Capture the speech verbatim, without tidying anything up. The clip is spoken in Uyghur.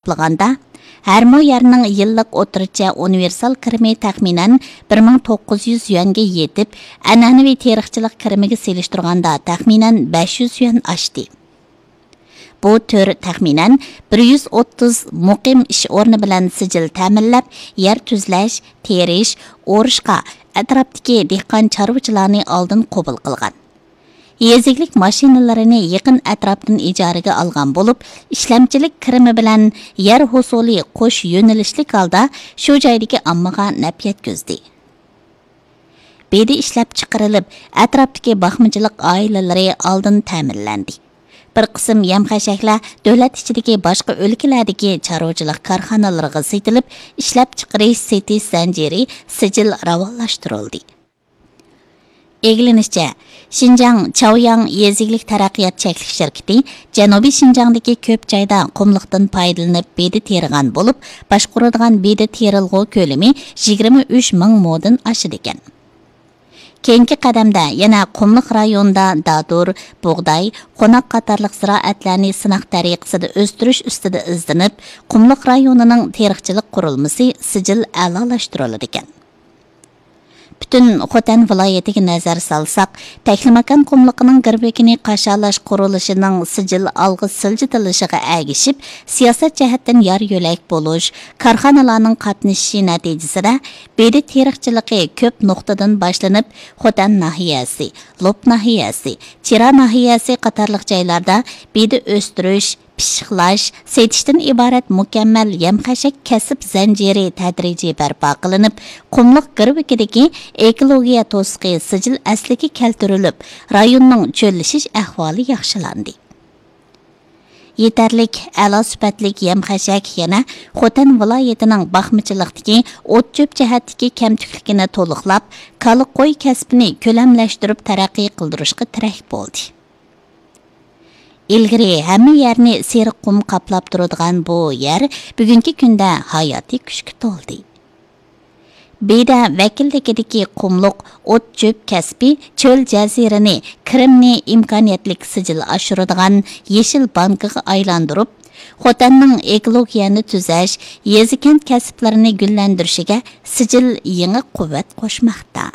ھېسابلىغاندا، ھەر مو يەرنىڭ يىللىق ئوتتۇرىچە ئۇنىۋېرسال كىرىمى تەخمىنەن بىر مىڭ توققۇز يۈز يۈەنگە يېتىپ، ئەنئەنىۋى تېرىقچىلىق كىرىمىگە سېلىشتۇرغاندا تەخمىنەن بەش يۈز يۈەن ئاشتى. بۇ تۈر تەخمىنەن بىر يۈز ئوتتۇز مۇقىم ئىش ئورنى بىلەن سىجىل تەمىنلەپ، يەر تۈزلەش، تېرىش، ئورۇشقا، ئەتراپتىكى دېھقان چارۋىچىلارنى ئالدىن قوبۇل قىلغان. يېزا ئىگىلىك ماشىنىلىرىنى يېقىن ئەتراپتىن ئىجارىگە ئالغان بولۇپ، ئىشلەمچىلىك كىرىمى بىلەن يەر ھوسۇلى قوش يۆنىلىشلىك ھالدا شۇ جايدىكى ئاممىغا نەپ يەتكۈزدى. بېدە ئىشلەپچىقىرىلىپ، ئەتراپتىكى باقمىچىلىق ئائىلىلىرى ئالدىن تەمىنلەندى. بىر قىسىم يەم-خەشەكلەر دۆلەت ئىچىدىكى باشقا ئۆلكىلەردىكى چارۋىچىلىق كارخانىلىرىغا سېتىلىپ، ئىشلەپچىقىرىش، سېتىش زەنجىرى سىجىل راۋانلاشتۇرۇلدى. ئىگىلىنىشىچە، شىنجاڭ چاۋياڭ يېزا ئىگىلىك تەرەققىيات چەكلىك شىركىتى جەنۇبىي شىنجاڭدىكى كۆپ جايدا قۇملۇقتىن پايدىلىنىپ بېدە تېرىغان بولۇپ، باشقۇرىدىغان بېدە تېرىلغۇ كۆلىمى يىگىرمە ئۈچ مىڭ مودىن ئاشىدىكەن. كېيىنكى قەدەمدە يەنە قۇملۇق رايونىدا دادۇر، بۇغداي، قوناق قاتارلىق زىرائەتلەرنى سىناق تەرىقىسىدە ئۆستۈرۈش ئۈستىدە ئىزدىنىپ، قۇملۇق رايونىنىڭ تېرىقچىلىق قۇرۇلمىسى سىجىل ئەلالاشتۇرۇلىدىكەن. پۈتۈن خوتەن ۋىلايىتىگە نەزەر سالساق، تەكلىماكان قۇملۇقىنىڭ گىرۋىكىنى قاشالاش قۇرۇلۇشىنىڭ سىجىل ئالغا سىلجىتىلىشىغا ئەگىشىپ، سىياسەت جەھەتتىن يار يۆلەك بولۇش، كارخانىلارنىڭ قاتنىشىشى نەتىجىسىدە، بېدە تېرىقچىلىقى كۆپ نۇقتىدىن باشلىنىپ، خوتەن ناھىيەسى، لوپ ناھىيەسى، چىرا ناھىيەسى قاتارلىق جايلاردا بېدە ئۆستۈرۈش، پىششىقلاش، سېتىشتىن ئىبارەت مۇكەممەل يەم-خەشەك كەسىپ زەنجىرى تەدرىجىي بەرپا قىلىنىپ، قۇملۇق گىرۋىكىدىكى ئېكولوگىيە توسۇقى سىجىل ئەسلىگە كەلتۈرۈلۈپ، رايوننىڭ چۆللىشىش ئەھۋالى ياخشىلاندى. يېتەرلىك، ئەلا سۈپەتلىك يەم-خەشەك يەنە خوتەن ۋىلايىتىنىڭ باقمىچىلىقتىكى ئوت-چۆپ جەھەتتىكى كەمتۈكلۈكىنى تولۇقلاپ، كالا، قوي كەسپىنى كۆلەملەشتۈرۈپ تەرەققىي قىلدۇرۇشقا تىرەك بولدى. ئىلگىرى ھەممە يەرنى سېرىق قۇم قاپلاپ تۇرىدىغان بۇ يەر بۈگۈنكى كۈندە ھاياتىي كۈچكە تولدى. بېدە ۋەكىللىكىدىكى قۇملۇق ئوت-چۆپ كەسپى چۆل جەزىرىنى، كىرىمنى ئىمكانىيەتلىك سىجىل ئاشۇرىدىغان يېشىل بانكىغا ئايلاندۇرۇپ، خوتەننىڭ ئېكولوگىيەنى تۈزەش، يېزا-كەنت كەسىپلىرىنى گۈللەندۈرۈشىگە سىجىل يېڭى قۇۋۋەت قوشماقتا.